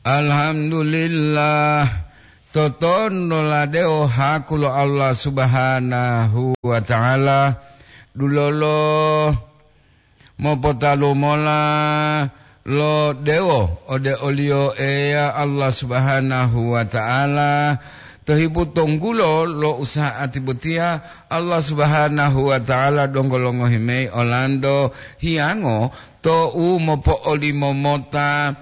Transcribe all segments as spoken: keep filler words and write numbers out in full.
Alhamdulillah, totonulade o haku lo Allah Subhanahu wa Ta'ala, dulolo mopotalu mola lo dewo ode oliyo Eya Allah Subhanahu wa Ta'ala, to hipu tonggulo lo usa'ati botiya Allah Subhanahu wa Ta'ala donggo longohi mayi olanto hiyango to'u mopo'olimo mota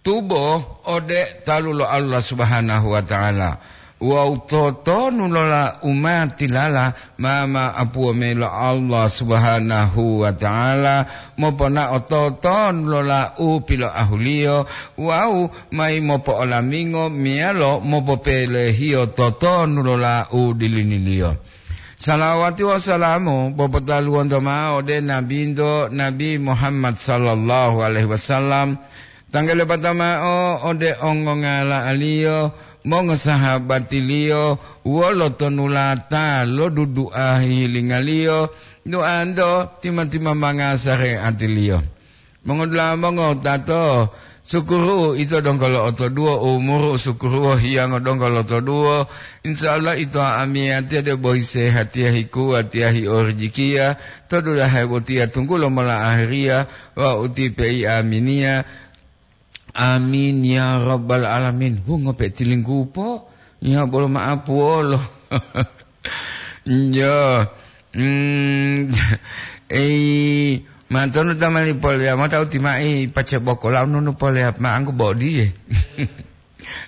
tubo ode talu lo Allah Subhanahu wa Ta'ala. Wawu totonu lola umatilala ma ma'apuwo mayi lo Allah Subhanahu wa Ta'ala, moponao totonu lola u piloahuliyo wawu mayi mopo'olamingo meyalo mopopelehiyo totonu lola u diliniliyo. Salawati wawu salamu popotaluwonto ma'o ode Nabinto, Nabi Muhammad sallallahu alaihi wasallam, tanggalepata ma'o ode ongongala'aliyo, mongosahabatiliyo, wolo tonulata lo dudu'a hihilingaliyo, duanto tima-timamanga sare'atiliyo. Mongodula'a mongowutato, sukuru ito donggo lo'otoduwo, umuru sukuru hiyango donggo lotoduwo. Insya Allah ito amiyatiya debo hisehatiya hikuwatiya hiorijikiya, to dulahe botiya tunggulo mola ahiriya, wawu ti pei aminiya. Amin ya rabbal alamin. Hu, ngope tilinggupo? Ya bolo ma'apuwolo. Njo. Mm, ei, mantonu tamani poleya mota uti mai pace boko laununu poleya ma'anggu bodiye.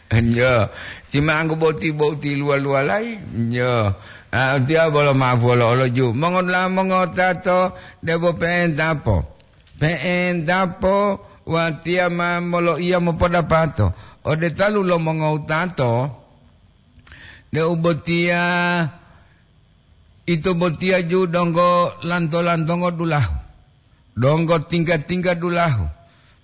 Njo. Ti ma'anggu boti boti luwa-luwalayi. Njo. Ah, tiya bolo ma'apuwolo oloju. Mongola mongotato debo pe'entapo. Pe'entapo watiya ma moloiya mopodapato ode talu lo mongowutato, deu botiya ito botiya ju donggo lanto-lantongo dulahu, donggo tingga-tingga dulahu,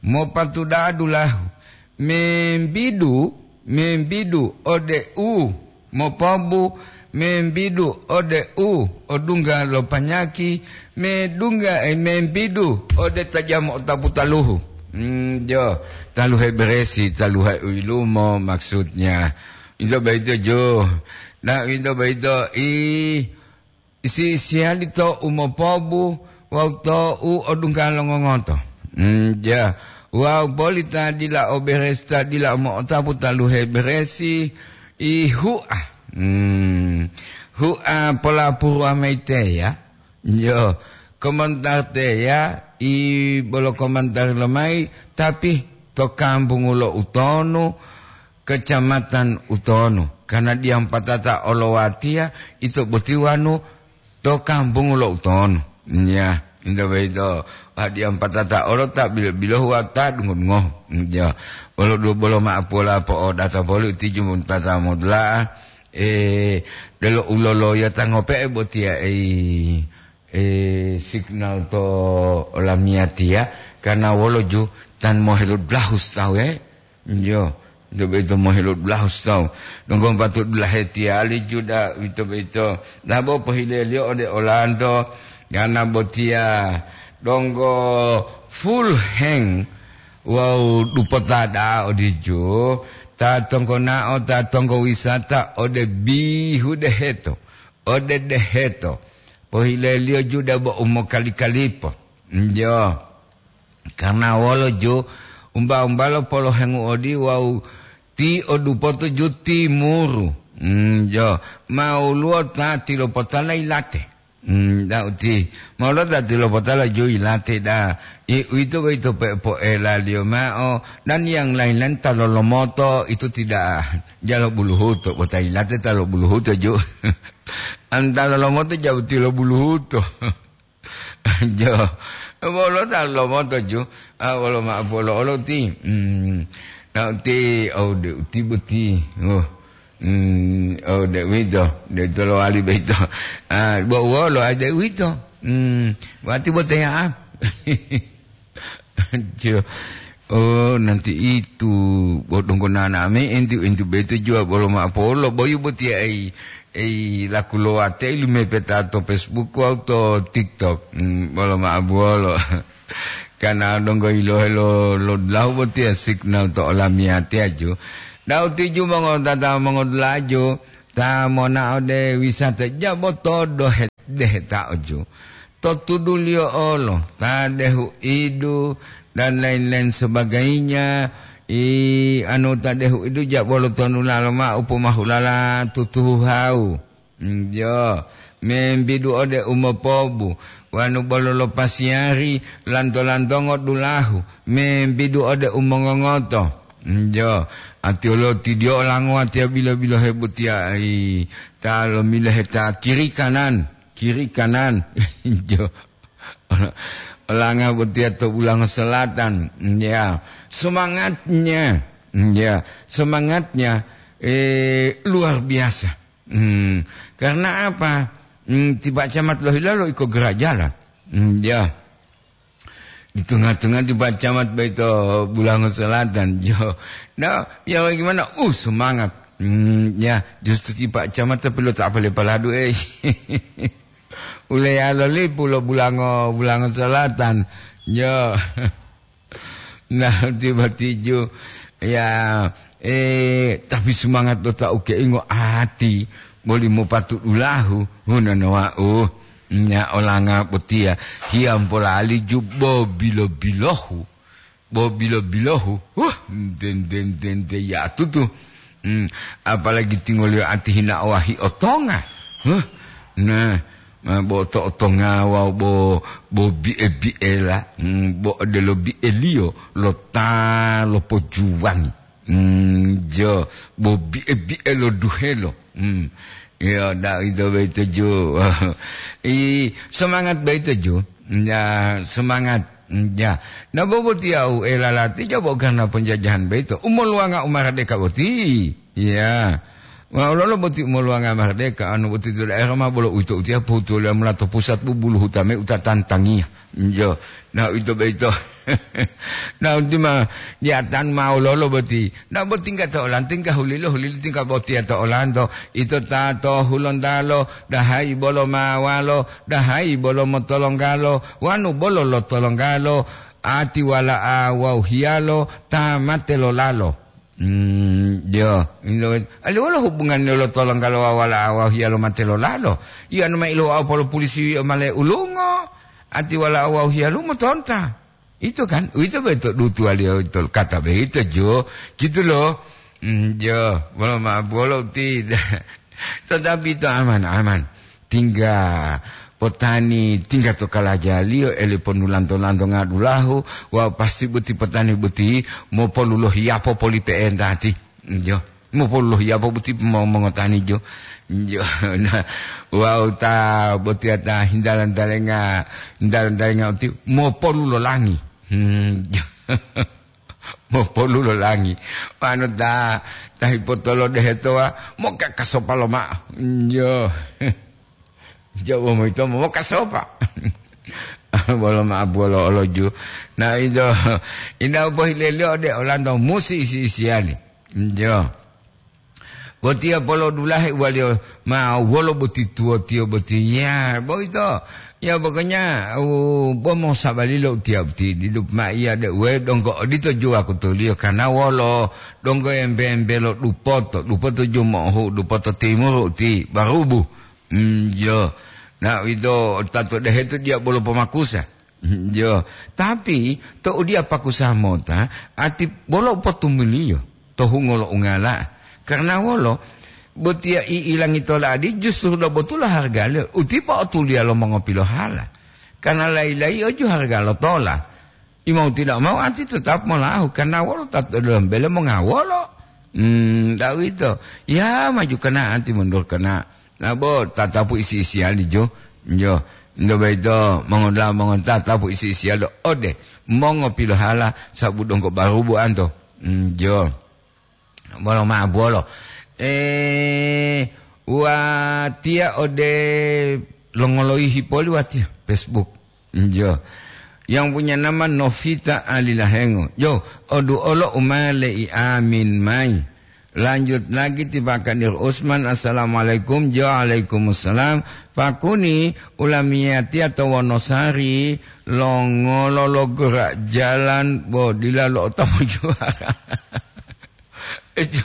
mopatuda'a dulahu, membidu, membidu ode u mopobu, membidu ode u odungga lo panyaki, medungga, eh, membidu ode ta jamo otapu taluhu. Hmm, jo, taluhe beresi, taluhe u yilumo maksudnya. Ito boyito jo. Nah, ito boyito i isi-isiyali to u mopobu wawu to u odungga lo ngongoto. Hmm, ja. Wawu boli ta dila o beresi, ta dila o mo'otapu taluhe beresi, i hu'a. Hmm, hu'a polapuruwa mayi teya. Yo, komentar teya, i bolo komentar lomayi, tapi to kambungu lo utonu, kecamatan utonu. Karena diyampatata olowatiya, ito boti wanu to kambungu lo utonu. Ya, ito boyito, wah, diyampatata olo ta bilo-bilohu wawu ta dungo-dungohu. Ya, bolo du-, bolo ma'apuwola po'odata poli u tiju tata modula'a, eh, delo uloloyota ngope'e botiya, ei, eh, signal to olamiyatiya, karena wolo ju tan moheludlahu tawu, eh. Iyo, ito boyito moheludlahu tawu. Donggo patu dulahe tiyali juda, ito boyito. Dabo pohileliyo ode olanto, karena botiya donggo full heng wawu dupota da'a odiju, ta tonggonao, ta tonggo wisata ode bihu deheto, ode deheto. Pohileliyo juda bo umokali-kalipo. Njo. Karena wolo ju, umba-umbalo polohengu odi wawu ti odupoto ju timuru. Njo. Mawuluwo ta tilopotala yilate. Hmm, dauti. Molo ta tilopotala ju yilate da. I, uwito boyito pe-, poelaliyo ma'o. Dan yang lain-lain ta lolomoto itu tidak jalo buluhuto. Bo ta yilate ta lo buluhuto ju. An ta lolomoto jauti lo buluhuto. Jo. Wolo ta lomoto ju, ah, wolo ma'o polo olo ti. Hmm. Na uti, oh, de uti boti. Oh. Hmm, oh, de uwito, de tolowali boyito. Ah, bo wolo ade uwito. Hmm, wati bo teya. Jo. Oh, nanti itu, bo donggo nana me enti, enti boyito juwa bolo ma'o polo, boyu botiya ei, ei laku lowate lumepeta to Facebook wawu to TikTok. Hmm, bolo ma'o buwolo. Kana donggo yilohe lo, lo dulahu botiya signal to olamiyatiya ju. Dau tiju mongotata mongodulaju, ta mona ode wisata jabo todo he-, deheta oju. To tuduliyo olo, ta dehu idu, dan lain-lain sebagainya, i anu ta dehu idu jabo lo tonulalo ma'u pomahulala tutuhu hau. Njo, membidu ode umopobu, wanu bolo lo pasiyari, lanto-lantongo dulahu, membidu ode umongongoto. Njo, atiyolo tidiyo olango watiya bilo-bilohe butiya, ai, ta lomilohe ta kiri kanan, kiri kanan. Njo, olanga butiya to Bulango Selatan. Ya, semangatnya, ya, semangatnya, eh, luar biasa. Hmm, karena apa? Hmm, tiba camat lohilalo iko gerajala. Hmm, ya. Di tengah-tengah tiba camat baito Bulango Selatan. Yo. Nah, ya bagaimana? Uh, semangat. Hmm, ya, justru tiba camat tapi lo tak apa paladu, eh. Uleyalo lipu lo Bulango, Bulango Selatan. Yo. Nah, tiba tiju. Ya, eh, tapi semangat lo ta ukeingo ati, boli mopatu dulahu, hunana wa'u. Nya olanga botiya, hiyampo lali ju bo bilo-bilohu. Bo bilo-bilohu. Huh, den, den, den, den, ya tutu. Hmm, apalagi tingoliyo ati hina owahi otonga. Huh, nah, ma bo to otonga wawu bo, bo bi'e-bi'ela, hmm, bo odelo bi'eliyo lo ta lopojuwangi. Hmm, jo, bo bi'e-bi'e lo duhelo. Hmm. Yo, da ito boyito ju. I, semangat boyito ju. Ya, semangat. Ya. Na bobotiya u elalati jabo karena penjajahan boyito. Umoluwanga u maradeka boti. Ya. Wa ololo boti umoluwanga maradeka, anu boti to daerah ma bolo uwito utiya pohutuliyo mula to pusat bubulu hutame uta tantangiya. Njo, na uwito boyito. Na uwito ma, di atan ma ololo boti. Na boti tingga to olanto, tingga hulilo, hulilo tingga botiya to olanto. Ito ta to Hulontalo, dahayi bolo mawalo, dahayi bolo motolonggalo, wanu bolo lotolonggalo, ati wala'a wawu hiyalo ta mate lolalo. Hmm, jo, ilo, ali wolo hubungannya lo tolonggalo wawu wala'a wawu hiyalo mate lolalo? Iya, anu ma ilowa polo pulisi wi'o male ulungo, ati wala'a wawu hiyalumo tonta. Ito kan, uwito boyito dutuwaliyo ito kata boyito jo, gitu lo. Hmm, jo, bolo ma bolo ti. Tetapi ito aman-aman. Tingga potani, tingga to kalajaliyo, eli ponu lanto-lanto ngadulahu, wawu pasti boti potani boti mopolu lohiyapo poli pe'entati. Jo, mopolu lohiyapo boti mo-, mongotani jo. Jo, nah, wawu ta botiya ta hindalan talenga, hindalan talenga uti mopolu lolangi. Hmm, jo. Mopolu lolangi. Wanu ta, ta hipotolo dehetowa, mokakasopa loma'o. Jo. Jawa moyito mokakasopa. Bolo ma'o bolo oloju. Na ito, ina u pohileliyo ode olanto musi isi-isiyali. Jo. Botiya polodulahe uwaliyo ma wolo boti tuwotiyo boti. Ya, boyito. Ya, pokoknya, u, bo mosabalilo utiya boti. Didu ma iya de uwe donggo odito juwa kutuliyo. Karena wolo donggo embe-embe lo dupoto, dupoto jumohu, dupoto timuru ti barubu. Hmm, yo. Na uwito tato dehetu diya bolo pomakusa. Jo, tapi tou diya pakusa mota, ati bolo potumuliyo to hungo lo ungala. Karena wolo? Botiya i'ilangi tola'adi justru dobotula hargaliyo, utipa otuliya lo mongopilohala. Karena layi-layiyo ju harga lo tola. Imau tidak mau ati tetap molahu, karena wolo ta to dalam bele mongawolo. Hmm, tahu itu. Ya, maju kena ati mundur kena. Nabo tatapu isi-isiyali jo, jo. Ndo boyito mongodaha mongotatapu isi-isiyalo ode mongopilohala sabu donggo barubu anto. Mm, jo. Bolo ma'o bolo. Eh, watiya ode longoloyihi poli watiya Facebook. Jo. Yang punya nama Novita Alilahengo. Jo, odu olo umale i amin mai. Lanjut lagi ti Pak Kadir Usman, "Assalamualaikum." "Jo, waalaikumsalam." "Pakuni, ulamiyatiya to Wonosari, longolo lo gerak jalan bo dila lo'otapu juara." Ejo,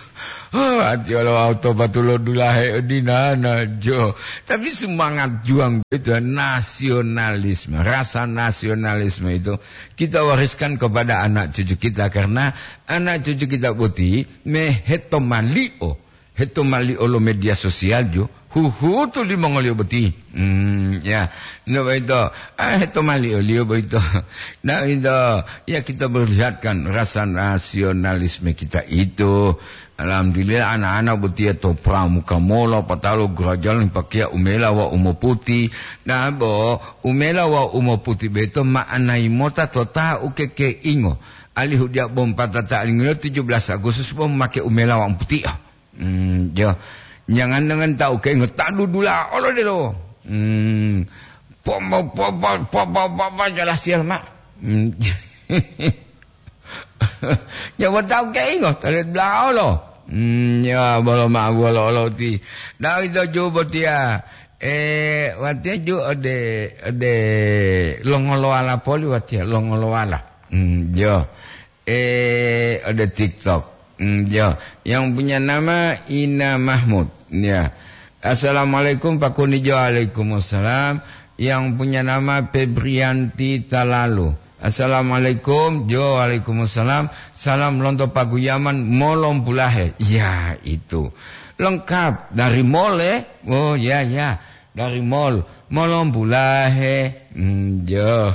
oh, ati olo auto patulo dulahe odinana, jo. Tapi semangat juang itu, nasionalisme, rasa nasionalisme itu kita wariskan kepada anak cucu kita, karena anak cucu kita boti meheto malio, heto malio lo media sosial, jo. Huhutu limongoliyo boti. Hmm, ya. Ndak boyito. Ah, heto malioliyo boyito. Ndak boyito. Ya, kita perlihatkan rasa nasionalisme kita itu. Alhamdulillah, anak-anak botiya to Pramuka Molo, patalo gerajalan pakeya umela wa umoputi. Nah, bo, umela wa umoputi beto ma'anayi mota to ta ukekeingo. Alihu dia bom patata alingiyo tujuh belas Agustus bom make umela wa umoputi. Hmm, jo. Jangan dengan tahu keinget tak dudula olo delo. Hmm. Po, po, po, po, po, po, po, po, jelas ya, Mak. Hmm. Ya, mau tahu keinget, tak dudula olo. Hmm, ya, bolo ma, bolo olo ti. Nah, itu juga dia. Eh, watia ju ode, ode longoloala poli watia, longoloala. Hmm, jo. Eh, ada TikTok. Hmm, jo. Yang punya nama Ina Mahmud. Ya. "Assalamualaikum, Pak Kuni." Jo, waalaikumsalam. Yang punya nama Febrianti Talalu. "Assalamualaikum." Jo, waalaikumsalam. "Salam lonto Paguyaman, Molompulahe." Ya, itu. Lengkap. Dari Mole. Oh, ya, ya. Dari Mol. Molompulahe. Hmm, jo.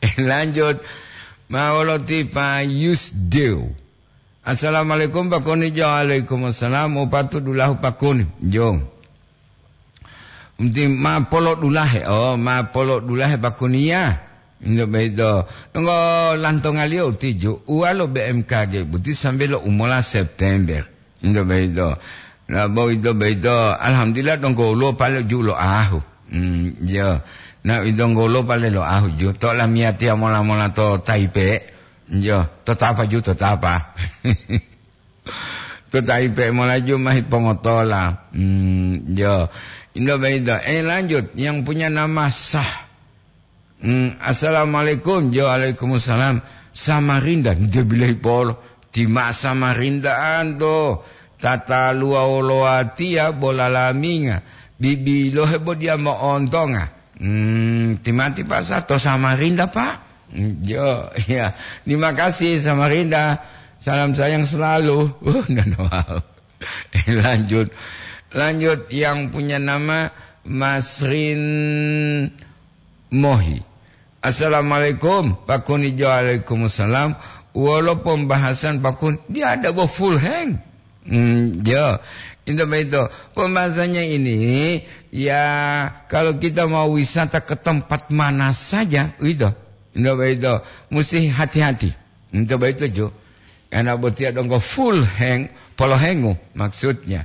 Eh, lanjut. Mawoloti Pak Yusdeo. "Assalamualaikum, Pak Kuni." Jo, waalaikumsalam. Upatu dulahu, Pak Kuni. Jo. Unti ma polo dulahe. Oh, ma polo dulahe, Pak Kuni, ya. Indo beito. Nunggu lantongaliyo utiju. Uwalo B M K G buti sambil lo umola September. Indo beito. Nah, bo ito beito. Alhamdulillah, donggo ulo pale ju lo ahu. Hmm, jo. Nah, idonggo ulo pale lo ahu ju. To lamiyatiya mola-mola to Taipe. Jo, to tapa ju, to tapa. To Taipe mola ju mahi pongotola. Hmm, jo. Indo beito. Eh, lanjut. Yang punya nama Sah. Hmm, "Assalamualaikum." Jo, waalaikumsalam. "Samarinda." Dia bilahi polo. "Tima Samarinda anto. Tata luwa wolowa tiya bola laminga. Bibilohe bo dia mo'ontonga." Hmm, timati Pak Sato Samarinda, Pak. Hmm, jo, ya. Terima kasih, Samarinda. Salam sayang selalu. Uh, dan wow. Lanjut. Lanjut, yang punya nama Masrin Mohi. "Assalamualaikum, Pak Kuni." Jo, waalaikumsalam. Wolo pembahasan, Pak Kuni? Dia ada bo full hang. Hmm, jo. Itu begitu. Pembahasannya ini, ya, kalau kita mau wisata ke tempat mana saja, itu. Itu begitu. Mesti hati-hati. Itu begitu, Jo. Karena botiya donggo full hang, polohengu maksudnya.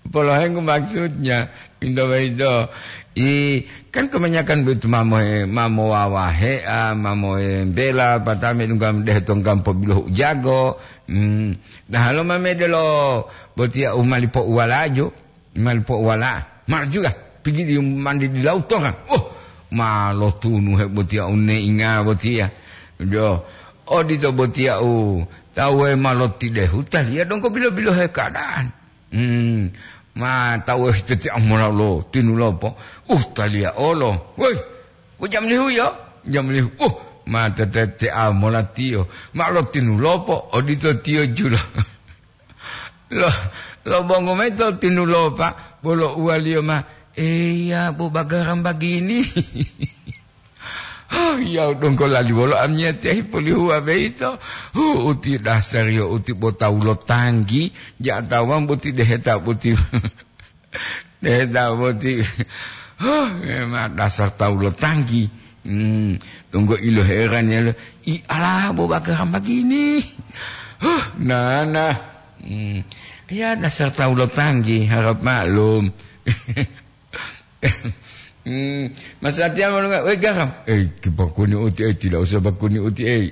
Polohengu maksudnya, pinto boyito. I, kan kebanyakan boyito mamoe, mamo wawahe, ah, mamoe bela, patame dungga dehe tonggampo bilohu ujago. Hmm. Nah, halo mamede lo botiya u mali po'uwalaju, mali po'uwala. Mar juga, pigi di mandi di lautongan. Oh, ma lotunu he botiya u neinga botiya. Jo, odito botiya u tawe ma lotidehu taliya donggo bilo-bilo he keadaan. Hmm, ma tawu hiti-hiti amola lo tinulopo. Uh, taliya olo. Woi, u jam lihu yo? Jam lihu. Uh, ma tete-tete amola tiyo. Ma lo tinulopo, odito tiyo jula. Lo, lo bongo mayi to tinulopa, bolo uwaliyo ma, "Eya, bo bagaram bagini." Huh, ya donggo lali wolo amiyatiya hipolihuwa boyito. Huh, uti dasariyo uti bo tawu lo tanggi, ja tawang boti deheta boti. Deheta boti. Huh, memang dasar tawu lo tanggi. Hmm, donggo ilo heran ya lo. I ala bo bagaram bagini. Huh, nana. Hmm. Ya dasar tawu lo tanggi, harap maklum. Hmm, Mas Satya mau dengar, "Weh, garam." "Eh, bakuni uti, eh, tidak usah bakuni uti, eh."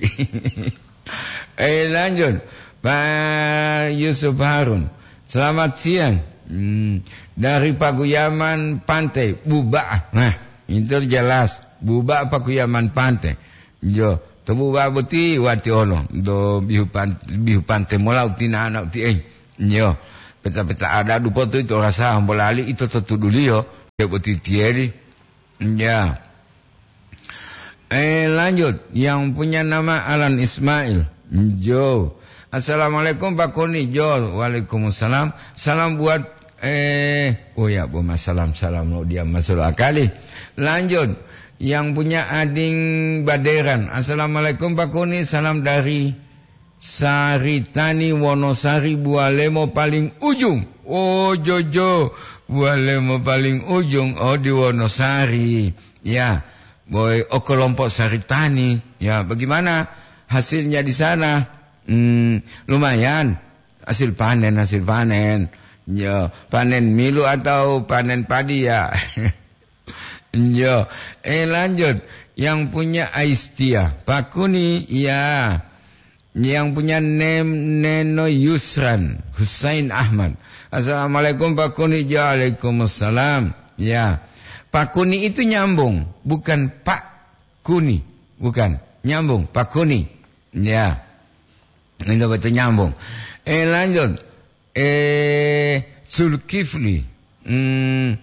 Eh, lanjut. Pak Yusuf Harun, selamat siang. Hmm, dari Paguyaman Pantai, Buba'a. Nah, itu jelas. Buba'a Paguyaman Pantai. Yo, to Buba'a boti wati olo. Do bihu pan-, bihu Pantai mola utina ana uti, eh. Yo, peta-peta ada dupo tu itu rasa hambolali itu to tuduliyo. Dia boti tieri. Ya. Eh, lanjut. Yang punya nama Alan Ismail. Jo. "Assalamualaikum, Pak Kuni." Jo. "Waalaikumsalam. Salam buat," eh, oh ya, bu, salam, salam lo dia masuk akali. Lanjut. Yang punya Ading Baderan. "Assalamualaikum, Pak Kuni. Salam dari Saritani, Wonosari, Bualemo paling ujung." Oh, jojo. Bualemo paling ujung. Oh, di Wonosari. Ya, boy, oh, kelompok Saritani. Ya, bagaimana hasilnya di sana? Hmm, lumayan. Hasil panen, hasil panen. Ya, panen milu atau panen padi, ya. Yo, eh, lanjut. Yang punya Aistia, Pak Kuni, ya. Yang punya Nem-, Neno Yusran, Husain Ahmad. "Assalamualaikum, Pak Kuni." Waalaikumsalam. Ya. Pak Kuni itu nyambung, bukan Pak Kuni. Bukan. Nyambung, Pak Kuni. Ya. Itu betul nyambung. Eh, lanjut. Eh, Zulkifli. Hmm,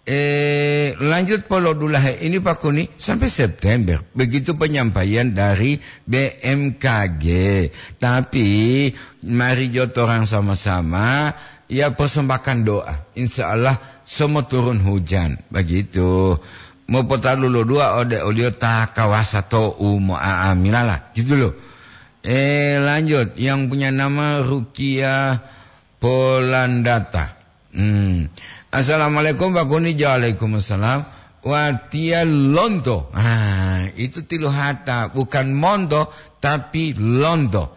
eh, lanjut polo dulahe ini, Pak Kuni, sampai September. Begitu penyampaian dari B M K G. Tapi, mari jo torang sama-sama, ya, persembahkan doa. Insya Allah, semua turun hujan. Begitu. Mau potalu lo dua ode olio ta kawasa to umo aamilala. Gitu loh. Eh, lanjut. Yang punya nama Rukia Polandata. Hmm. "Assalamualaikum, Pak Kuni." Waalaikumsalam. "Watiya lonto." Ah, itu tilu hata, bukan monto, tapi lonto.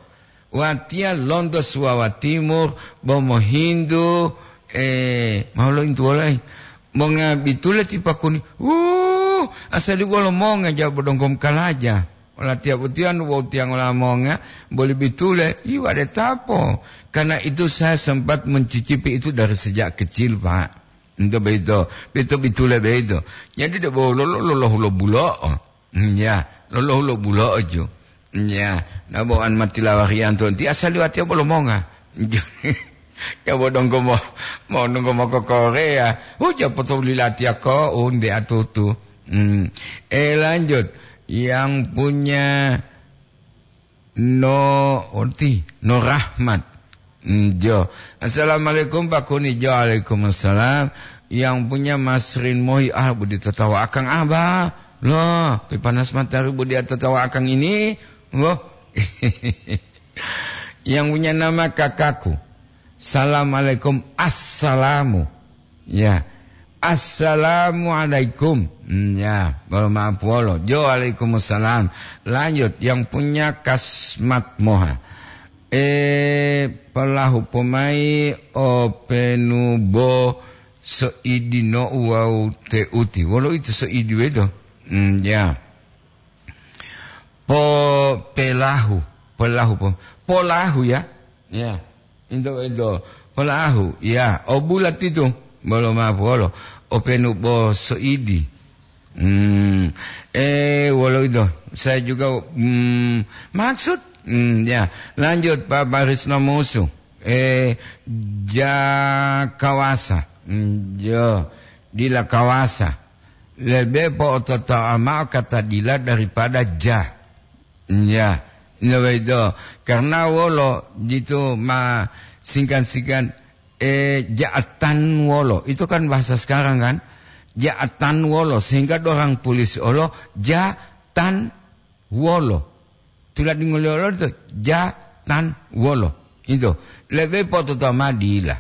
"Watiya lonto Suwawa Timur, bo mohintu, eh, mau lointu wolai. Monga bitule ti Pak Kuni." Uh, asali wolo monga jabo dongkom kalaja. Olatiya botiya nu bo tiyangola monga, boli bitule, iwa de tapo. Karena itu saya sempat mencicipi itu dari sejak kecil, Pak. Ento beito, beito bitule beito. Jadi de bo lolo, lolo hulo bulo'o. Hmm, ya, lolo hulo bulo'o ju. Hmm, ya, na bo an matilawarianto, ti asali watiya bolo monga. Ya bo donggo mo, mo donggo mo ko Korea. Huja potolilatiya ko, unde atutu. Hmm. Eh, lanjut. Yang punya No Oti, No Rahmat. Hmm, jo. "Assalamualaikum, Pak Kuni." Jo, "Waalaikumsalam." Yang punya Masrin Mohi, ah, budi tatawa akang abah. Loh, pi panas matahari budi tatawa akang ini. Loh. Yang punya nama kakakku. "Assalamualaikum." "Assalamu." Ya. "Assalamualaikum." Hmm, ya, bolo maaf wolo. Jo, "Waalaikumsalam." Lanjut, yang punya Kasmat Moha. Eh, pelahu pomai openu bo soidi no wawu teuti. Wolo itu soidi wedo? Hmm, ya. Po pelahu, pelahu po, polahu ya. Ya. Into, into. Polahu, ya. O bulat itu. Bolo maaf wolo. Openu bo soidi. Hmm. Eh, wolo itu. Saya juga, hmm, maksud. Hmm, ya. Lanjut, Pak Baris Nomusu. Eh, ja kawasa. Hmm, jo. Dila kawasa. Lebe po'ototoa ma'o kata dila daripada ja. Ya, noweido. Karena wolo jitu ma singkan-singkan, eh, ja'atan wolo. Itu kan bahasa sekarang kan? Ja'atan wolo. Sehingga dorang tulis olo jatan wolo. Tuladingoliyo olo to jatan wolo. Itu. Lebe pototo ma dila.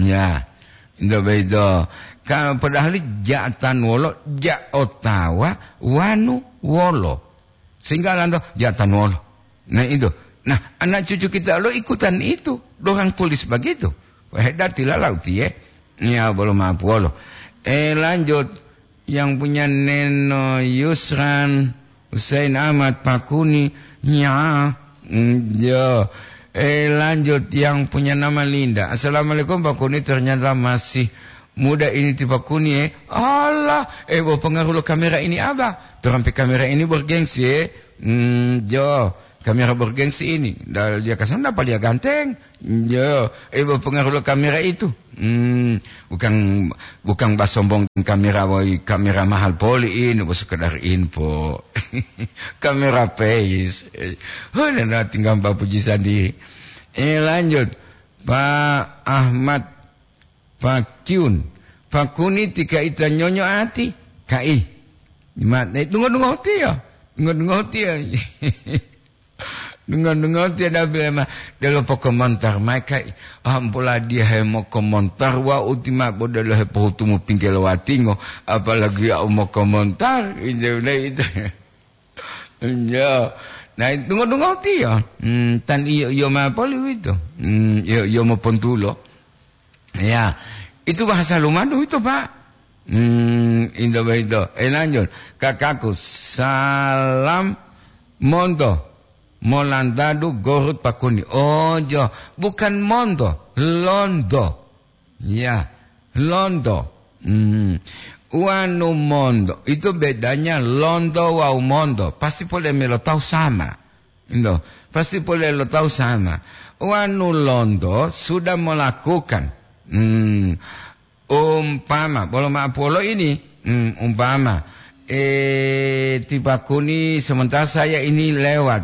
Ya. Itu beido. Ka-, padahal jatan wolo, ja otawa, wanu wolo. Sehingga lanto jatan wolo. Nah, itu. Nah, anak cucu kita lo ikutan itu. Dorang tulis begitu. Wah, hebat tilala utiye. Ya, belum mampu wolo. Eh, lanjut. Yang punya Neno Yusran, Husain Ahmad Pakuni. Ya. Mm, ya. Eh, lanjut, yang punya nama Linda. "Assalamualaikum, Pak Kuni, ternyata masih muda ini ti Pak Kuni, eh." Allah, eh, bo pengaruh lo kamera ini, Abah. Terampe kamera ini bergengsi, eh. Hmm, jo, kamera bergengsi ini. Dah dia kasar, apa dia ganteng? Jo, eh, bo pengaruh lo kamera itu. Hmm, bukan, bukan basombong kamera, woi, kamera mahal poli ini, bo sekedar info. Kamera face. Eh, oh, nana tinggal bapuji sandi. Eh, lanjut. Pak Ahmad Pakiun. "Pak Kuni, tika ita nyonyo ati?" Kai. Ma-, eh, dungo-dungo tiyo. Dungo-dungo tiyo. Dungo-dungo tiyo, dabile ma. Delo pokomontar mai, kai. Ampola dia he mokomontar, wa uti ma bodelo he pohutumu pinggelo watingo. Apalagi ya mokomontar. Itu, itu. Iya. Nah, dungo-dungo tiyo. Hmm, tan iyo, iyo ma poli wito. Hmm, iyo, iyo mopontulo. Ya, itu bahasa lumadu itu, Pak. Hmm, indo boyito. Eh, lanjut. "Kakakku, salam monto. Molantadu gorut Pak Kuni." Oh, jo. Bukan monto, londo. Ya, londo. Hmm. Wanu mondo, itu bedanya londo wawu mondo. Pasti pole melo tahu sama. Indo, pasti pole lo tahu sama. Wanu londo sudah melakukan. Hmm. Umpama, bolo ma'apuwolo ini, hmm, umpama, eh, ti Pak Kuni, sementara saya ini lewat.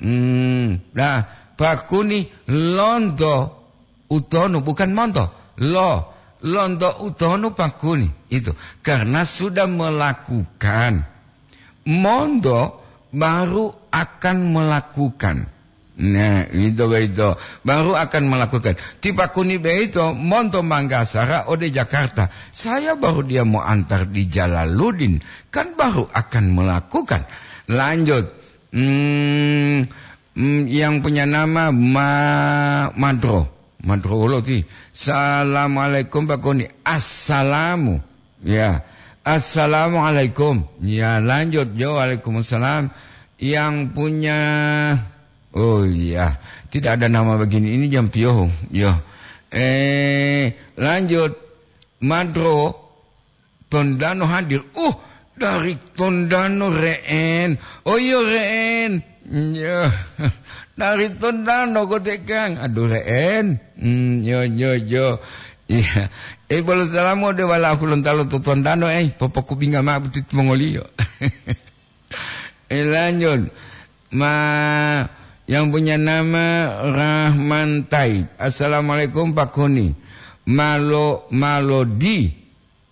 Hmm, nah, Pak Kuni londo utonu, bukan monto. Lo, londo utonu Pak Kuni. Itu, karena sudah melakukan. Monto baru akan melakukan. Nah, itu begitu. Baru akan melakukan. Ti Pak Kuni begitu, monto Manggasara ode Jakarta. Saya baru dia mau antar di Jalaluddin. Kan baru akan melakukan. Lanjut. Hmm, hmm, yang punya nama Ma-, Madro. Madro wolo ti. "Assalamualaikum, Pak Kuni." Assalamu. Ya. "Assalamualaikum." Ya, lanjut, jo. "Waalaikumsalam." Yang punya, oh iya, tidak ada nama begini. Ini jam piohu. Yo. Eh, lanjut. Madro, Tondano hadir. Uh, dari Tondano, Re'en. Oh iya, Re'en. Ya. Dari Tondano kote, Kang. Aduh, Re'en. Hmm, yo, yo, yo. Iya. Eh, bolo salamu ode wala'u Hulontalo to Tondano, eh, popokubinga ma'o butit mongoliyo. Eh, lanjut. Ma, yang punya nama Rahman Taib. "Assalamualaikum, Pak Kuni. Malo-, Malodi."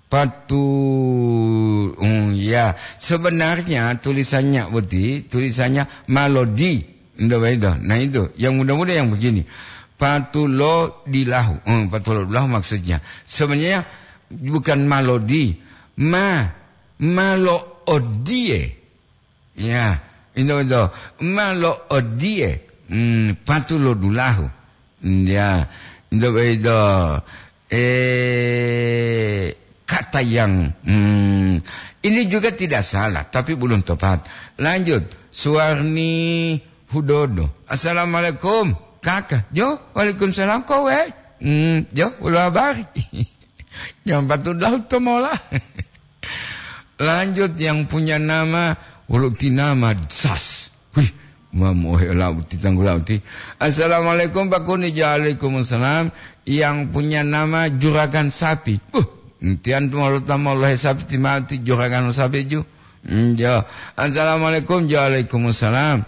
Patu-, hmm, ya. Sebenarnya tulisannya boti, tulisannya Malodi. Ndak begitu. Nah, itu. Yang muda-muda yang begini. Patulodilahu. Hmm, patulodilahu maksudnya. Sebenarnya bukan Malodi. Ma, Malo Odie. Ya, ino ito, malo odiye, hmm, patu lo dulahu. Hmm, ya, ito, ito, eh, kata yang, hmm, ini juga tidak salah, tapi belum tepat. Lanjut, Suwarni Hudodo. "Assalamualaikum, Kaka." "Jo, waalaikumsalam, kowe?" "Hmm, jo, wolo habari?" Yang patut laut to mola. Lanjut, yang punya nama, wolo ti nama Sas. Wih, mamu ohe lauti, tanggu lauti. "Assalamualaikum, Pak Kuni." "Waalaikumsalam." Yang punya nama Juragan Sapi. Buh, entian tu mau tamo lohe sapi ti mati Juragan Sapi ju. Hmm, jo. "Assalamualaikum." "Waalaikumsalam."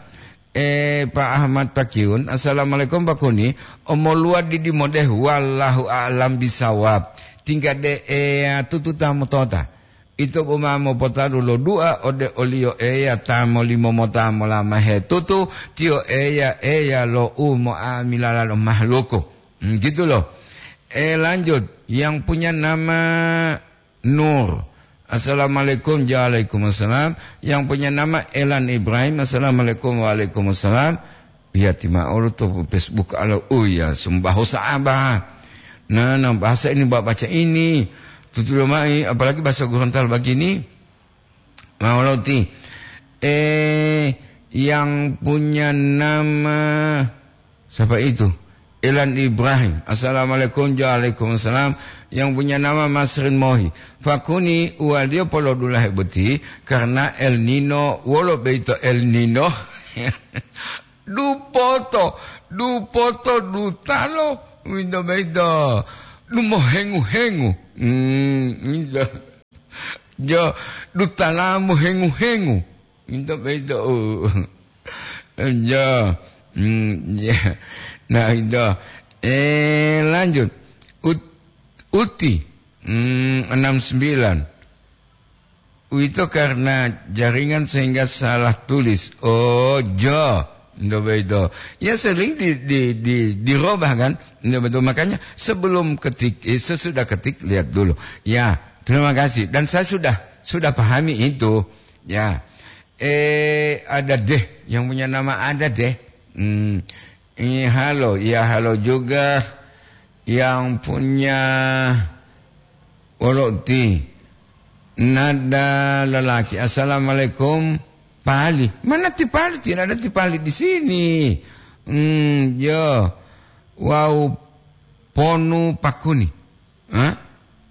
Eh, Pak Ahmad Pakiun, "Assalamualaikum, Pak Kuni. Omoluwa didi modeh, wallahu a'lam bisawab. Tingga de Eya tutu ta motota. Ito boma mopotadu lo dua ode oliyo Eya ta molimo mota molama hetutu, tiyo Eya, Eya lo u mo'amilala lo mahluku." Hmm, gitu loh. Eh, lanjut. Yang punya nama Nur. "Assalamualaikum." "Waalaikumsalam." Yang punya nama Elan Ibrahim. "Assalamualaikum." "Waalaikumsalam." Iya, ti ma'o lo to Facebook alo. Oh iya, sumbaho sa'aba. Nah, nah, bahasa ini, ba-, baca ini. Tutulo mai, apalagi bahasa Gorontalo begini. Ma'o lo ti. Eh, yang punya nama Siapa itu? Elan Ibrahim. Assalamualaikum. Waalaikumsalam. Yang punya nama Masrin Mohi. Pakuni uwaliyo polodulahe boti karena El Nino. Wolo beito El Nino? Dupoto, dupoto dutalo, winto beito. Dumohengu-hengu. Hmm, winto. Jo, dutalamu hengu-hengu. Itu beda. Oh. Ya. Hmm, ya. Nah, itu. Eh, lanjut. Ut-, Uti. Hmm, enam sembilan. Itu karena jaringan sehingga salah tulis. Oh, jo. Itu beda. Ya, sering di, di, di, dirubah, kan? Itu betul. Makanya sebelum ketik, eh, sesudah ketik, lihat dulu. Ya, terima kasih. Dan saya sudah, sudah pahami itu. Ya. Eh, ada deh, yang punya nama ada deh. Hmm, ini halo, ya, halo juga. Yang punya Woloti. Nada lelaki. Assalamualaikum, Pali. Mana ti Pali? Tidak ada ti Pali di sini. Hmm, yo. Wau ponu pakuni. Hah?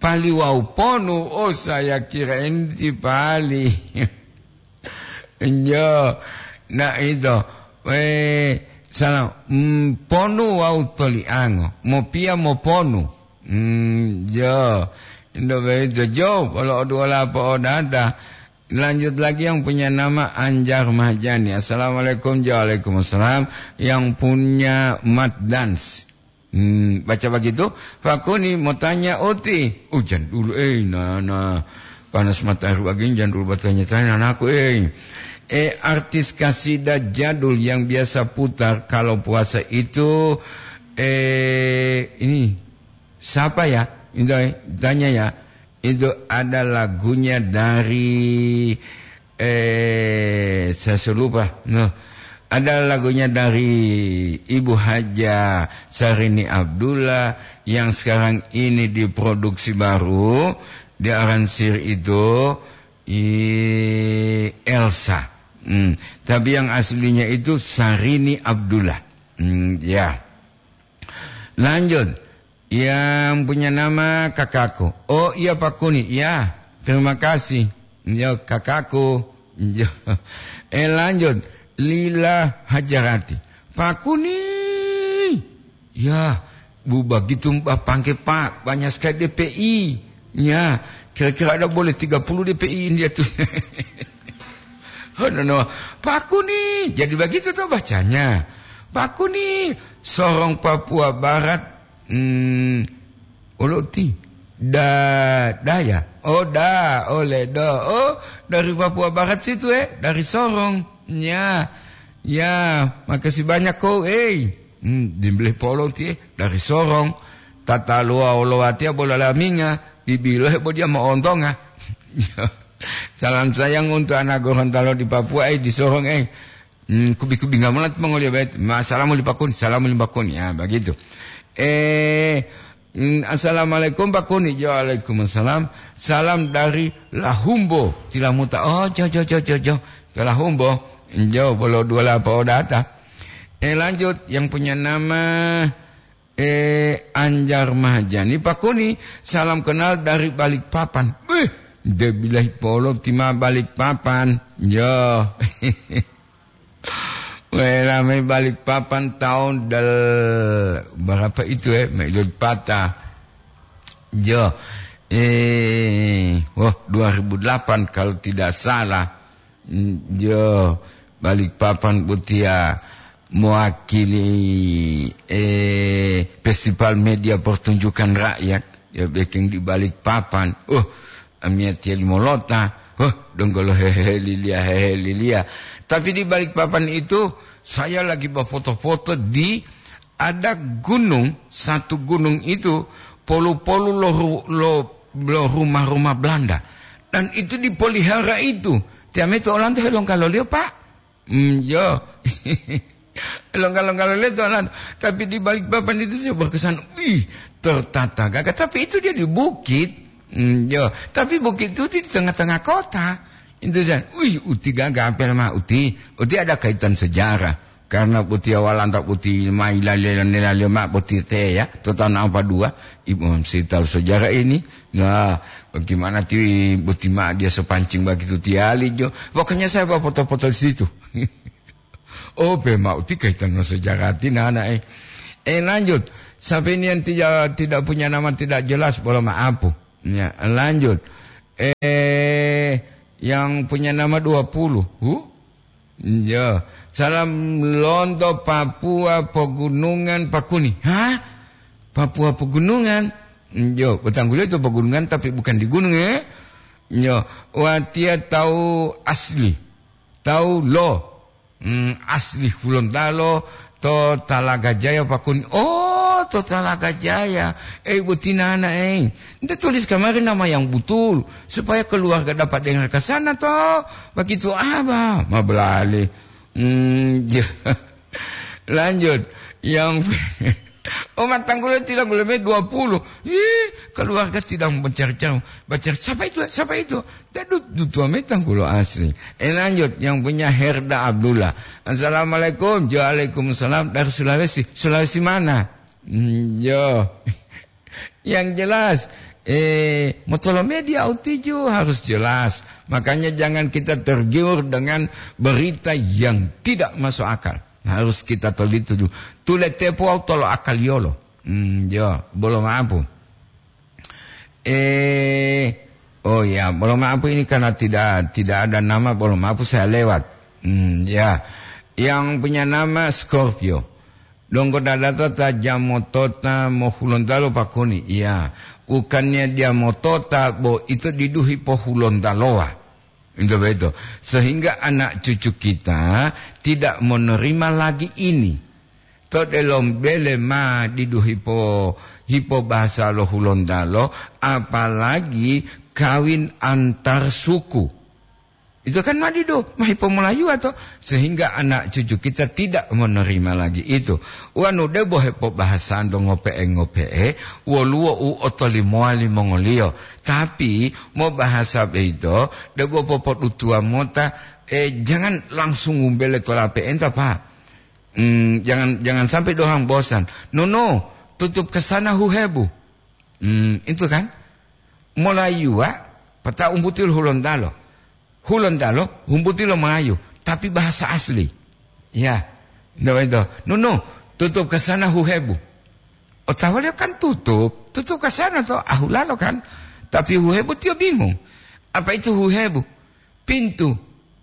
Pali wau ponu. Oh, saya kira ini ti Pali. Enjo, na ito, eh, salam, mm, ponu wau toliango, mopiya moponu. Mm, jo, ndo beito jo, polo oduola po'odata. Lanjut lagi yang punya nama Anjar Mahjani. Assalamualaikum, waalaikumsalam. Yang punya Mat Dance. Hmm, baca begitu, Fakuni mau tanya Uti. Hujan dulu, eh, nah, nah. Panas matahari begini, jangan dulu bertanya-tanya anakku, eh. Eh, artis kasida jadul yang biasa putar kalau puasa itu, eh, ini siapa ya? Itu, eh, tanya ya. Itu ada lagunya dari, eh, saya sudah lupa. Nah, ada lagunya dari Ibu Haja Sarini Abdullah yang sekarang ini diproduksi baru, diaransir itu, i, Elsa. Hmm, tapi yang aslinya itu Sarini Abdullah. Hmm, ya. Lanjut. Yang punya nama kakakku. Oh, iya, Pak Kuni. Ya, terima kasih. Ya, kakakku. Ya. Eh, lanjut. Lila Hajarati. Pak Kuni. Ya, bu begitu, Mbak, pangke, Pak. Banyak sekali D P I. Ya, kira-kira ada boleh tiga puluh D P I dia tuh. Oh, no, no. Pak Kuni. Jadi begitu tuh bacanya. Pak Kuni. Sorong Papua Barat. Hmm, Olo ti. Da, da ya? Oh, da, oleh da. Oh, dari Papua Barat situ, eh, dari Sorong. Ya, ya, makasih banyak kau, eh. Hmm, dimbelih polo ti, eh, dari Sorong. Tata lua olowatia bola laminga, dibilo hebo dia moontonga. Salam sayang untuk anak Gorontalo di Papua, eh, di Sorong, eh. Hmm, kubi-kubi nggak melat mongoliyo bait. Ma, salamu li Pakun, salamu li Pakun. Ya, begitu. Eh, hmm, assalamualaikum Pakun. Waalaikumsalam. Salam dari Lahumbo, Tilamuta. Oh, jo, jo, jo, jo, jo. Ke Lahumbo. Jo, bolo dua lapa odata. Eh, lanjut. Yang punya nama, eh, Anjar Mahjani. Pakuni, salam kenal dari Balikpapan. Beh, de bilahi polo tima Balikpapan. Jo. Wela mai Balikpapan tahun del, berapa itu, eh? Mai del patah. Jo. Eh, wah, dua ribu delapan kalau tidak salah. Mm, jo, Balikpapan botiya mewakili, eh, Festival Media Pertunjukan Rakyat, ya, bikin di Balikpapan. Uh, amiyatiya limolota. Uh, donggolo hehe lilia, hehe lilia. Tapi di Balikpapan itu, saya lagi bafoto-foto di, ada gunung, satu gunung itu polu-polu lo ru-, lo, lo rumah-rumah Belanda. Dan itu dipelihara itu. Tiame to olanto helonggaloliyo, Pak. Hmm, yo. Helonggaloliyo to olanto. Tapi di Balikpapan itu saya berkesan, wih, tertata gagah. Tapi itu dia di bukit. Hmm, yo. Tapi bukit itu di tengah-tengah kota. Itu saya, wih, uti gagah, apa nama uti? Uti ada kaitan sejarah. Karena boti awalanta boti ma ilalele-lele mao boti teya, to taun ampadua, ibu mamsita lo sejarah ini. Nah, bagaimana ti boti ma dia sepancing begitu tiali jo. Pokoknya saya bawa foto-foto di situ. Oh, pe mau ti kaitan no sejarah ti nana, eh. Eh, lanjut. Sampai ini yang tidak, tidak punya nama tidak jelas, boleh maaf. Ya, lanjut. Eh, yang punya nama dua puluh. Huh? Ya, salam lonto Papua Pegunungan Pakuni. Hah? Papua Pegunungan? Yo, betanggulo itu pegunungan tapi bukan di gunung, ya. Yo, watia tahu asli. Tahu lo. Hmm, asli Hulontalo to Talaga Jaya Pakuni. Oh, to Talaga Jaya. Eh, butina anak, eh. Ente tulis kemarin nama yang betul supaya keluarga dapat dengar ke sana toh. Begitu apa? Mabalali. Hmm, ya. Lanjut. Yang Oh, matanggulo tidak boleh dua puluh. Ih, keluarga tidak mencari-cari. Baca, "Siapa itu? Siapa itu?" Dadut dutua metanggulo asli. Eh, lanjut, yang punya Herda Abdullah. "Assalamualaikum." "Waalaikumsalam." "Dari Sulawesi." "Sulawesi mana?" Hmm, yo. Yang jelas, eh, motolo media utiju harus jelas. Makanya jangan kita tergiur dengan berita yang tidak masuk akal. Harus kita teliti dulu. Tule tepo tolo akaliyolo. Hmm, yo, bolo maaf. Eh, oh ya, bolo maaf ini karena tidak, tidak ada nama, bolo maaf saya lewat. Hmm, ya. Yang punya nama Scorpio. Donggo dadata ta jamotota mo Hulontalo Pakuni. Iya, bukannya dia motota, bo itu diduhi po Hulontaloa. Itu betul. Sehingga anak cucu kita tidak menerima lagi ini. To delom bele ma didu hipo, hipo bahasa lo Hulontalo, apalagi kawin antar suku. Itu kan ma didu, ma hipo Melayu atau, sehingga anak cucu kita tidak menerima lagi itu. Wanu debo hepo bahasan do ngope'e-ngope'e, woluwo u otolimowa limongoliyo. Tapi mo bahasa beito, debo popodutuwa mota, eh, jangan langsung umbele tolape enta, Pak. Hmm, jangan, jangan sampai dorang bosan. No, no, tutup ke sana huhebu. Hmm, itu kan. Molayuwa, pata umbutil Hulontalo. Hulontalo, umbutil Melayu, tapi bahasa asli. Ya. No, itu. No, no, tutup ke sana huhebu. Otawa dia kan tutup, tutup ke sana to, ahulalo kan. Tapi huhebu dia bingung. Apa itu huhebu? Pintu.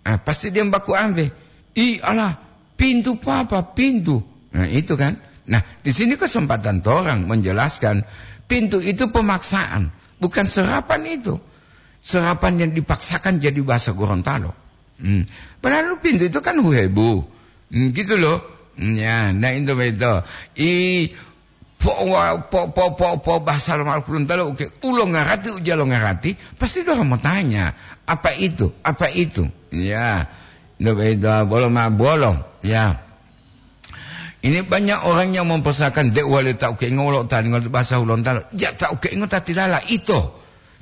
Ah, pasti dia baku ambe. "Ih, Allah, pintu papa, pintu." Nah, itu kan. Nah, di sini kesempatan orang menjelaskan pintu itu pemaksaan, bukan serapan itu. Serapan yang dipaksakan jadi bahasa Gorontalo. Hmm. Padahal pintu itu kan huhebu. Hmm, gitu loh. Hmm, ya, nah itu betul. I po, wa- po, po, po, po bahasa Romawi Gorontalo, oke, ulo ngarati, ujalo ngarati, pasti dia mau tanya, "Apa itu? Apa itu?" Ya. Ndak beda, bolo ma bolo. Ya. Ini banyak orang yang mempersoalkan, "Dek wali tak oke ngolo tadi ngol bahasa Hulontalo." Ya, tak oke ngol tati lala itu.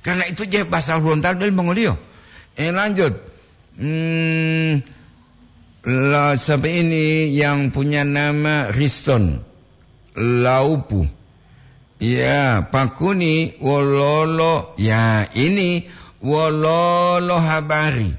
Karena itu je bahasa Hulontalo dari Mongolio. Eh, lanjut. Hmm, la, sampai ini yang punya nama Riston Laupu. Ya, Pakuni wololo. Ya, ini wololo habari.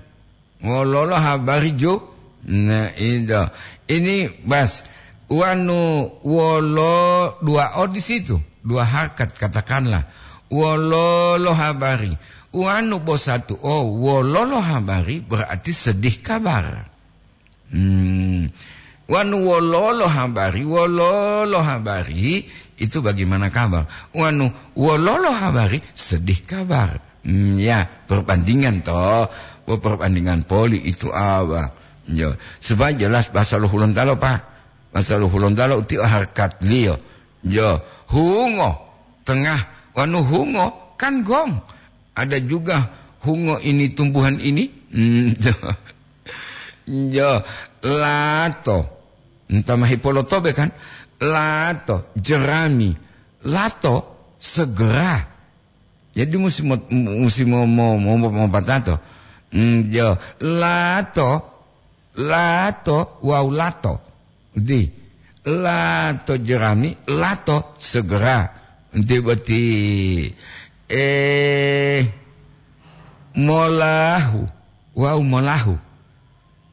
Wololo habari ju. Nah, itu. Ini bas. Wanu wolo dua o di situ. Dua harkat katakanlah. Wololo habari. Wanu bo satu o. Wololo habari berarti sedih kabar. Hmm. Wanu wololo habari, wololo habari, itu bagaimana kabar? Wanu wololo habari, sedih kabar. Hmm, ya, perbandingan toh. Bo perbandingan poli itu apa? Yo, supaya jelas bahasa lo Hulontalo, Pak. Bahasa lo Hulontalo uti harkat liyo. Yo, hungo, tengah, wanu hungo, kan gong. Ada juga hungo ini tumbuhan ini. Hmm, yo. Yo, lato. Entah mahi polotobe kan? Lato, jerami. Lato, segera. Jadi musi mo, musi mo, mo, mo, mo, mo patato. Hmm, yo, lato, lato, wau lato. Di, lato jerami, lato segera. Di boti, eh, molahu, wau molahu.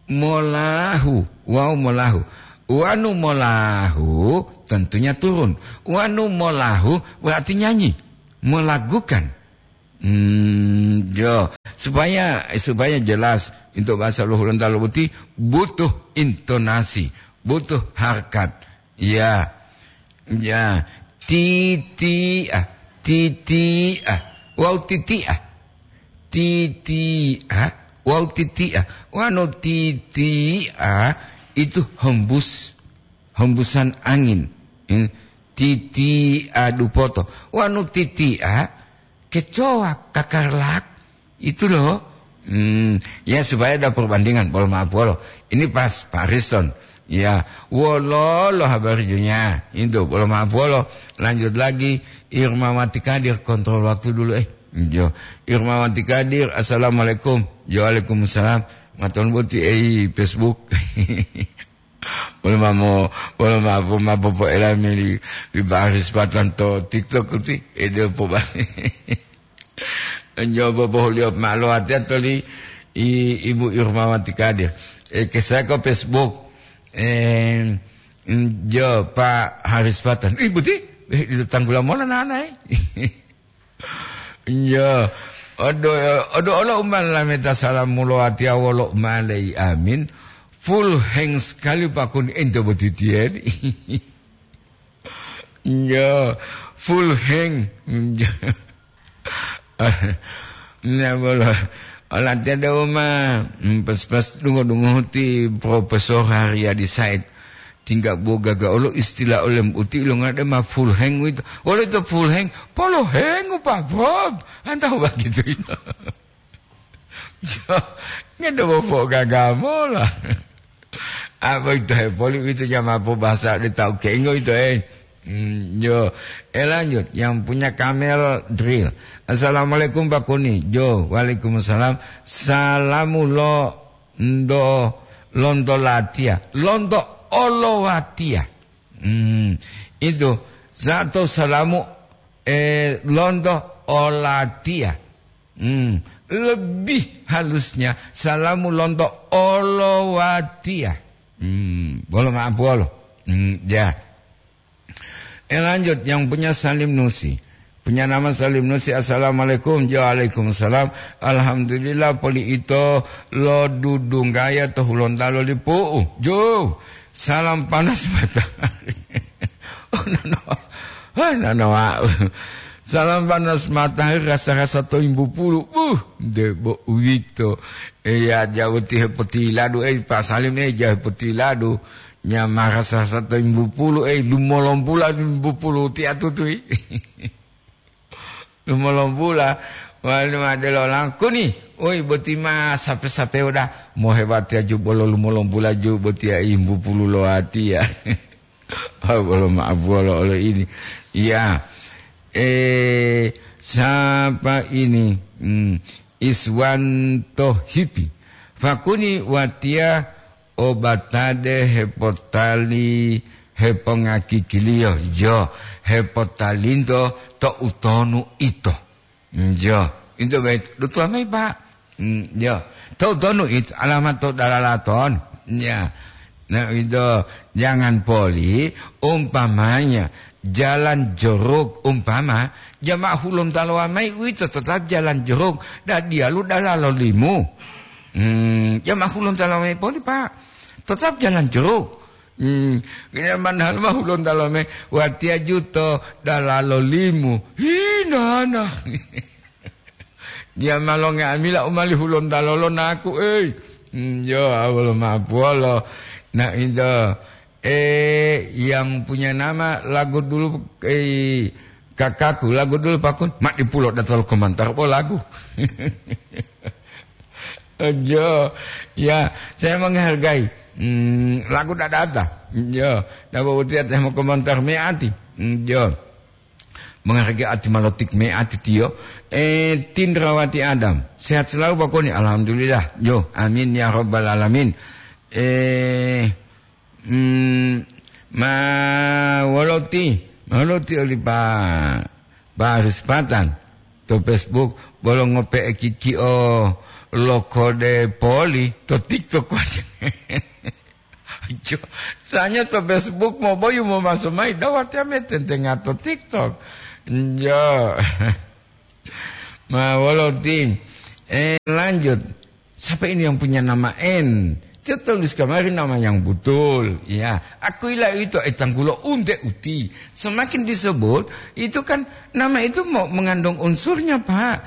Molahu, wau molahu. Wanu molahu, tentunya turun. Wanu molahu berarti nyanyi, melagukan. Hmm, jo. Supaya, supaya jelas, untuk bahasa Hulontalo boti butuh intonasi, butuh harkat. Ya. Ya. Titi'a, titi'a. Wau titi'a. Titi'a, wau titi'a. Wanu titi'a itu hembus, hembusan angin. Hmm. Titi'a dupoto. Wanu titi'a kecoa, kakarlak. Itu loh. Hmm, ya, supaya ada perbandingan, bolo maaf bolo. Ini pas, Pak Riston. Ya, wolo lo habar junya. Itu, bolo maaf bolo. Lanjut lagi, Irmawati Kadir, kontrol waktu dulu, eh. Jo. Irmawati Kadir, assalamualaikum. Jo, waalaikumsalam. Maton boti, eh, Facebook. Wolo mamo, wolo mamo, mamo po elami li, li baris patan to TikTok uti, ede po ba. Nyobo bohuliyo malo ati atoli i, Ibu Irmawati Kadir. E, kesako Facebook. E, mm, jo, Pak Haris Patan. Ibu ti, eh, di tanggula mola nana, eh. Iya, odo, odo olo umma lameta salamu lo atiya wolo umma lei amin. Full hang sekali pakun ento botitiyen. Iya, full hang. Iya. Nah, bolo. Ola tiada uma, hmm, pas-pas dungo-dungo ti Profesor Haryadi Said. Tingga bo gaga olo istilah olem uti ilongade ma full hang wito. Wolo ito full hang, polo hengu, Pak Bob. Antau begitu ito. Yo, ngede bo po gaga mola. Apa ito he poli ito jama po bahasa de tau kengo ito, eh. Hmm, yo. Eh, lanjut, yang punya kamel drill. Assalamualaikum, Pak Kuni. Jo, waalaikumsalam. Salamu lo ndo, lonto latiya. Lonto olowatiya. Hmm, itu. Sato salamu, eh, lonto olatiya. Hmm, lebih halusnya, salamu lonto olowatiya. Hmm, bolo maaf, bolo. Hmm, ya. Eh, lanjut, yang punya Salim Nusi. Punya nama Salim Nusi, "Assalamualaikum." Jo, waalaikumsalam. "Alhamdulillah, poli ito lo dudunggaya to Hulontalo lipu'u." Jo, salam panas matahari. Oh, nano. Hai, nano, wa'u. Salam panas matahari rasa-rasa to imbu pulu. Buh, de bo uwito. Iya, jauh ti hepotiladu, eh, Pak Salim, eh, jauh hepotiladu. Nyamara sasato imbu pulu, eh, lumolompula imbu pulu ti atutui. Lumolompula, wali madelo langkuni. Oi, boti ma sape-sape udah. Mohebati aju bolo lumolompula ju boti ya imbu pulu lo ati ya. Ah, bolo maaf, bolo, olo ini. Ya. Eh, siapa ini? Hmm, Iswanto Hipi. Fakuni watiya obatade hepotali, hepongakikiliyo, yo, hepotalinto to utonu ito. Yo, ito baik, dutuwa mayi, Pak. Mm, yo, to utonu ito, alamat to dalalaton. Ya. Nah, ito, jangan poli, umpamanya, jalan jeruk, umpama, jamaah Hulontalo mayi, uwito tetap jalan jeruk, da diyalu dalalo limu. Hmm, ya, ma Hulontalo mayi poli, Pak. Tetap jalan jeruk. Hmm, kena manhal ma Hulontalo me, watiya juto dalalo limu. Hi, nana. Dia malonge amila umali Hulontalo lo naku, ei. Hmm, yo, awolo mapuolo. Nah, itu. Eh, yang punya nama lagu dulu, eh, kakakku, lagu dulu, Pak Kun. Mak dipulo datol komentar, oh, lagu. Ojo, ya, saya menghargai. Hmm, lagu tidak ada. Yo, tidak mau tiap saya mau komentar meati. Hmm, yo, menghargai ati malotik meati tiyo. Eh, Tindrawati Adam, sehat selalu, Pak Koni. Alhamdulillah. Yo, amin ya rabbal alamin. Eh, Hmm, ma woloti, ma woloti oli pa, pa Rispatan to Facebook, bolo ngope'e kikio lo kode poli to TikTok wajo. Jo, soalnya to Facebook mo boyu mo maso mai, dawati ame tentenga to TikTok. Jo. Ma woloti. Eh, lanjut. Siapa ini yang punya nama N? Dia tulis kemarin nama yang betul. Ya, aku ila itu etanggulo unte uti. Semakin disebut, itu kan nama itu mau mengandung unsurnya, Pak.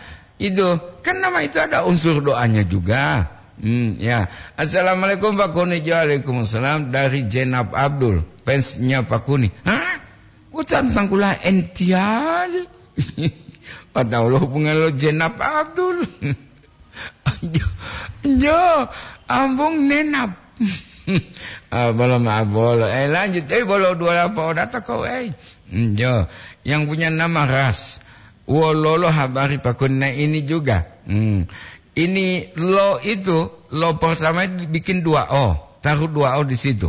Itu kan nama itu ada unsur doanya juga. Hmm, ya. Assalamualaikum Pak Kuni. Waalaikumsalam, dari Jenab Abdul, fansnya Pak Kuni. Hah? Utan tangkula ential. Padahal hubungan lo Jenab Abdul. Jo, jo, ambung nenap. Ah, bolo maaf, bolo. Eh, lanjut. Eh, bolo dua apa data kau, eh? Hmm, jo, yang punya nama Ras. Wololo habari Pak Kuni? Nah, ini juga. Hmm. Ini lo itu, lo pertama itu bikin dua O. Taruh dua O di situ.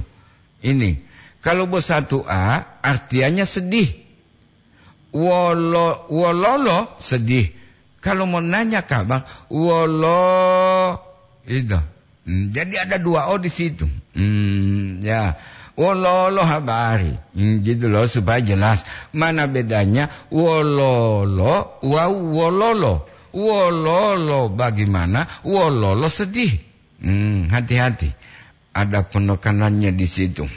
Ini. Kalau bersatu A, artinya sedih. Wolo, wololo sedih. Kalau mau nanya kabar, wolo, itu. Hmm, jadi ada dua O di situ. Hmm, ya. Wololo habari. Hmm, gitu loh, supaya jelas. Mana bedanya wololo wau wololo? Wololo bagaimana? Wololo sedih. Hmm, hati-hati. Ada penekanannya di situ.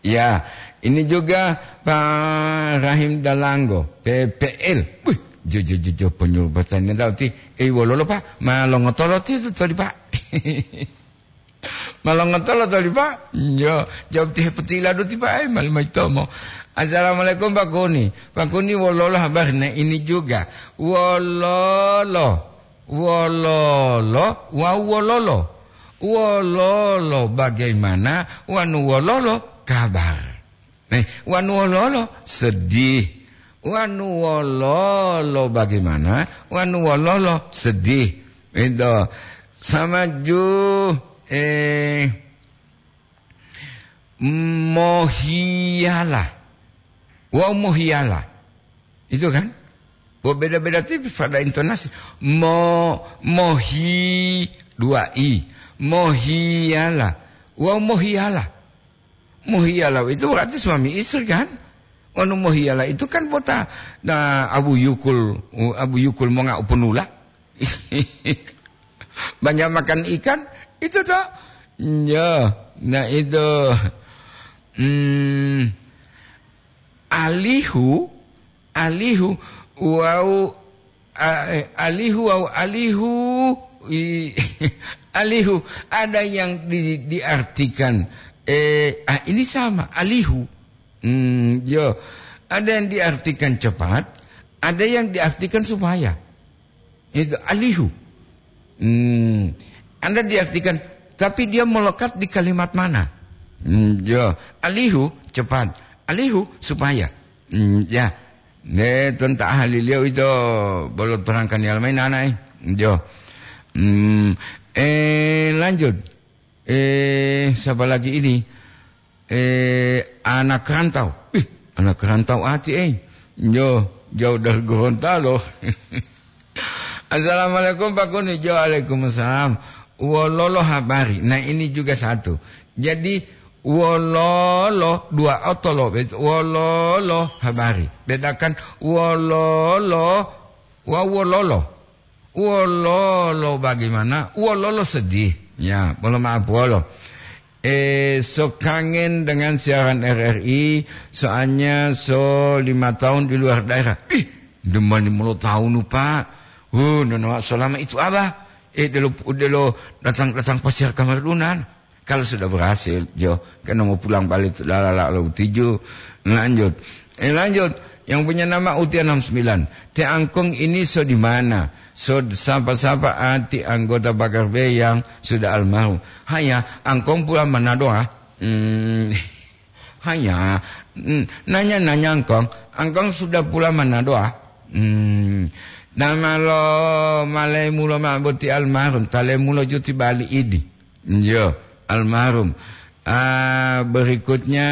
Ya, ini juga Pak Rahim Dalanggo, P P L. Wih, jo, jo, jo, jo, penyuluh pertanian tahu ti. Eh, wololo, Pak, ma longotolo ti itu tadi, Pak. Ma longotolo tadi, Pak. Jo, jawab ti hepetila do ti, Pak. Eh, malu mai tomo. Assalamualaikum, Pak Kuni. Pak Kuni, wololo habari? Nah, ini juga. Wololo. Wololo, wau wololo. Wololo bagaimana, wanu wololo kabar? Eh, wanu wololo sedih. Wanu wololo bagaimana, wanu wololo sedih. Itu sama ju, eh, mohiyala. Wau mohiyala. Itu kan? Bo beda-beda tipis pada intonasi. Mo, mohi, dua i. Mohiyala. Wau mohiyala. Mohiyala itu berarti suami istri kan? Wanu mohiyala itu kan bota, nah, Abu Yukul, Abu Yukul monga upunula. Banyak makan ikan, itu toh. Ya, nah itu. Hmm, alihu, alihu, wau, a-, eh, alihu, wau alihu, i-, alihu, ada yang di-, diartikan, eh, ah, ini sama, alihu. Hmm, yo, ada yang diartikan cepat, ada yang diartikan supaya. Itu alihu. Hmm. Anda diartikan, tapi dia melekat di kalimat mana? Hmm, ya. Alihu, cepat. Alihu, supaya. Hmm, ya. Ne, tentang ahli liau itu, bolot perangkan yang lain, anak, eh. Jo. Hmm, eh, lanjut. Eh, siapa lagi ini? Eh, anak rantau. Ih, anak rantau ati, eh. Jo, jauh dari Gorontalo. Assalamualaikum, Pak Kuni. Jo, waalaikumsalam. Wololo habari. Nah, ini juga satu. Jadi, wololo, dua otolo. Wololo habari. Bedakan wololo wa wololo. Wololo bagaimana? Wololo sedih. Ya, mohon maaf, wolo. Eh, so kangen dengan siaran R R I, soalnya so lima tahun di luar daerah. Ih, demani mulo tahun, Pak. Oh, nono, selama itu apa? Eh, delo, delo datang, datang pasiar kamar dunan. Kalau sudah berhasil, jo, kan mau pulang balik, lalala, lo tujuh. Lanjut. Eh, lanjut. Yang punya nama Uti enam sembilan. Te Angkong ini so di mana? So sapa-sapa ati anggota Pagar B yang sudah almarhum. Hanya, Angkong pulang mana doa? Hmm, hanya, hmm, nanya-nanya Angkong. Angkong sudah pulang mana doa? Hmm, nama lo malemu lo ma boti almarhum, talemu lo juti bali idi. Yo, almarhum. Ah, berikutnya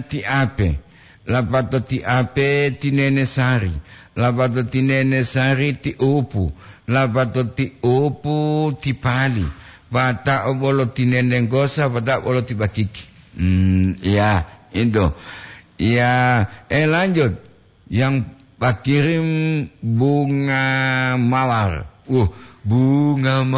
ti Ape. Lapato ti Ape ti Nene Sari. Lapato ti Nene Sari ti Upu. Lapato ti Upu ti Pali. Pata'o bolo ti Nene Gosa, pata'o bolo ti Bakiki. Hmm, ya, itu. Ya, eh, lanjut. Yang pakirim bunga mawar. Uh, bunga